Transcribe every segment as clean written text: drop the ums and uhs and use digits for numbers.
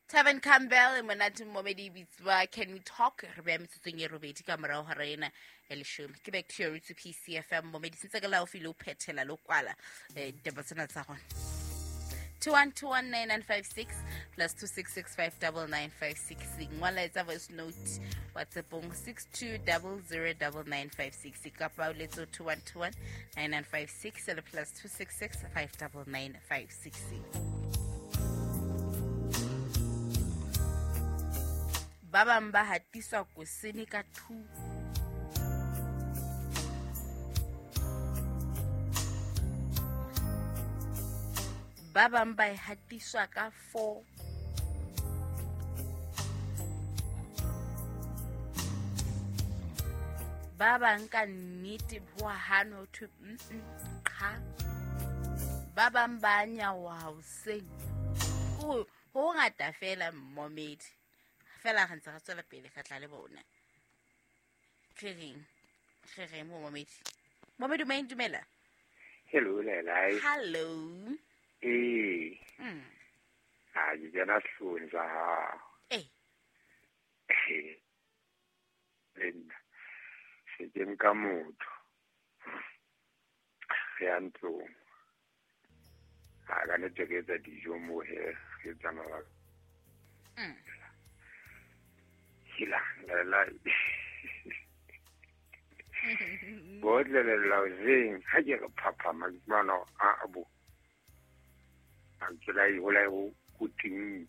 Tevin Campbell e monate momedi bitswa Can We Talk re beya metsotsong e robedi ka morago ga rena ya leshome ke back to your roots PCFM momedi sentse ke laofi le o phethela le o kwala ditaba tsena tsa gona 21219956 plus 26659956 ngwala etsa voice note whatsappong 62009956 kapa o letse 21219956 le plus 266599956. Ba bang ba hatiswa kosene ka 2. Ba bang ba e hatiswa ka 4. Ba bang ka nnete ho hano ho thwe qha. Ba bang ba nyaoha hoseng. Ho ngata fela mmomedi. Fela re ntse re tswela pele re tla le bona. Re reng mo momedi. Momedi o dumela. Hello, Lelai. Hello. Eh. Ha ke kena sehloohong sa hao. Eh. Le nna se ke nka motho. Re ya ntlong. Ha ka nnete re etsa dijo moo he, re etsa mabaka. Hila, Lelai. Botle le laozeng ha ke re phaphama ke fumana hore a bo. A ke la e hola ho teng.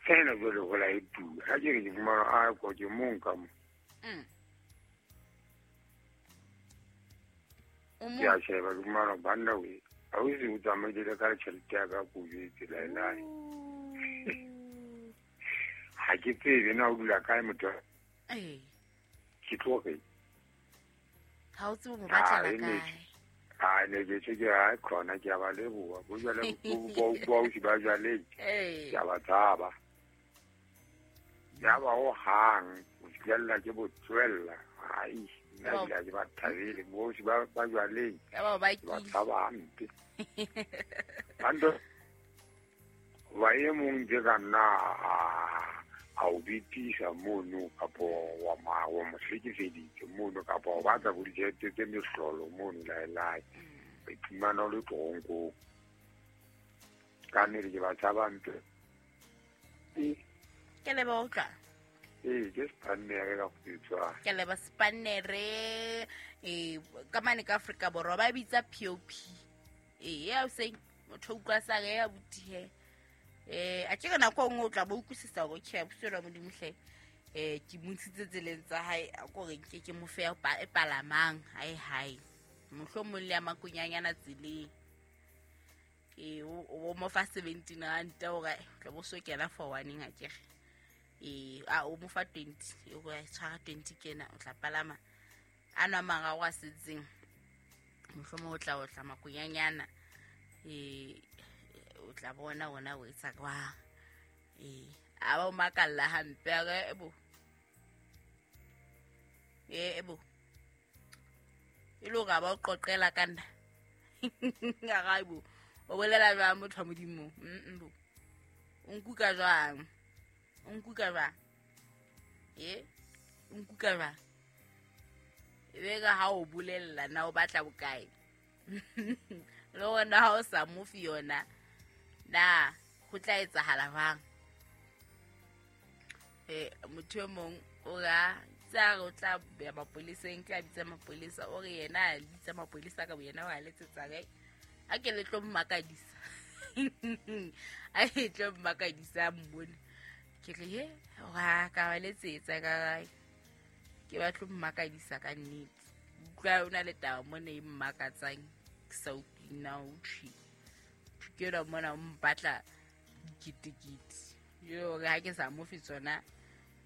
Fela jwale hola e tura. Ha ke re ke fumana a ko ke mong ka mo. Ke a sheba ke fumana banna we. Ha o se o tsamaile ka tjhelete ya ka ko jwetse laelai. Ha ke tsebe na o dula kae motho. Ke tloge. Ha o tsebe mo batlela kae. A ne ke tse ke a khona ke a ba leboha. Bo jwale bo o ba jwale. Ke a ba tshaba. Ya ba ho hang o fihlella ke bo tswella. Ai, nna ke ba thabele bo ba jwale. Ya ba ba ke tshaba hampe. Bando ba e mong ke ka nna a o bitisa mono kapo wa mo hlekefeditse mono kapo o batla bo ditjhelete tse mehlolo mono laelai. O iphumana o le toronkong. Ka nnete ke ba tshaba mpe. Ke leboha utlwa. Ee, ke Spannere ka go. Ke leboha Spannere ka mane ka Afrika Borwa ba bitsa POP. Ee, ya o seng motho utlwa sa re ya butihe. A ke re nako nngwe o tla bo utlwisisa hore okay boswela Modimo hle. Ke mo ntshitse tseleng tsa hae a ko re nke ke mo fe e palamang hae hae. Mohlomong le ya makonyanyana tseleng. O mo fa 17 rand hore tla bo so kena for one ha ke re. A o mo fa 20 o go tshwara 20 kena o tla palama. A nwa mararo a setseng. Mohlomong o tla makonyanyana. O tla bona ona o etsa kwa. A ba o makalla hampe a re bo. Bo. E le hore ba o qoqela ka nna. Ga bo. O bolela jwang motho wa Modimo? Bo. O nkuka jwang? O nkuka jwang? O nkuka jwang? E be ka ha o bolella na o batla bokae? Le hore ha o sa mo fe yona na ho tla etsahala jwang? Motho e mong o ra tsa o tla ya mapoleseng, tla bitsa mapolesa, o re yena a bitsa mapolesa ka boyena wa letsetsa kae? A ke le tlo mmakadisa. A e tlo mmakadisa mmone. Ke re he, wa ka ba letsetsa ka kae? Ke ba tlo mmakadisa ka nnete. Utlwa o na le taba mona e mmakatsang ke sa utlwe na o thwi. Thukela mona o mpatla diketekete. Yo re ha ke sa mo fe tsona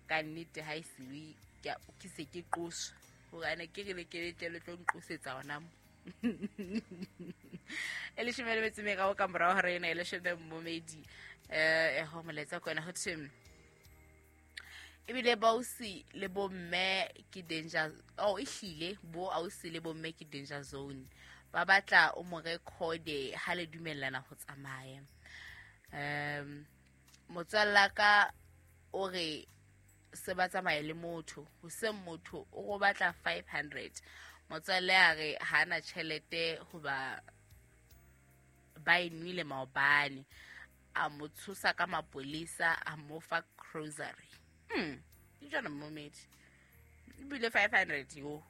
ka nnete ha e siwe ke se ke qoswa. Hore ana ke re le ke tle le tlo nqosetsa hona mo. E leshome le metso e meraro ka morao hora ena e leshome mmomedi. Ho molaetsa kona ho thwe ebile bausi le bomme ke danger. Oh, ehlile bo ausi le bomme ke danger zone. Ba batla o mo recorde ha le dumellana ho tsamaya. Motswalla ka o re se ba tsamaye le motho, hoseng motho o go batla 500. Motswalle a re ha na tjhelete hoba ba e nwele maobane. A mo tshosa ka mapolesa, a mo fa grocery. Ke jwana momedi. Ebile 500 yo.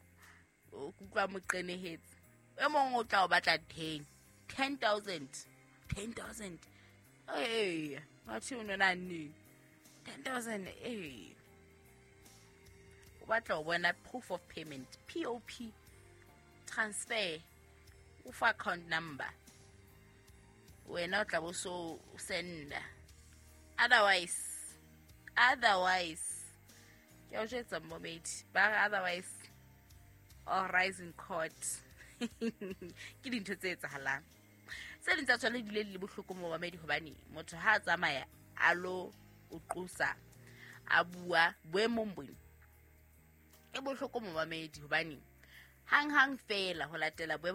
O kutlwa mo qenehetse. E mong o tla o batla 10. 10,000. 10,000. Ee, batho o nona neng? 10,000 ee. O batla ho bona proof of payment, POP, transfer, o fa account number. Wena o tla bo so senda. Otherwise, ke o jwetsa momedi, ba re otherwise or rise in court. Ke dintho tse etsahalang. Tse ding tsa tsona di le bohloko mo mamedi hobane motho ha a tsamaya a lo o qosa a bua boemong bone e bohloko mo mamedi hobane hang hang fela ho latela boemo.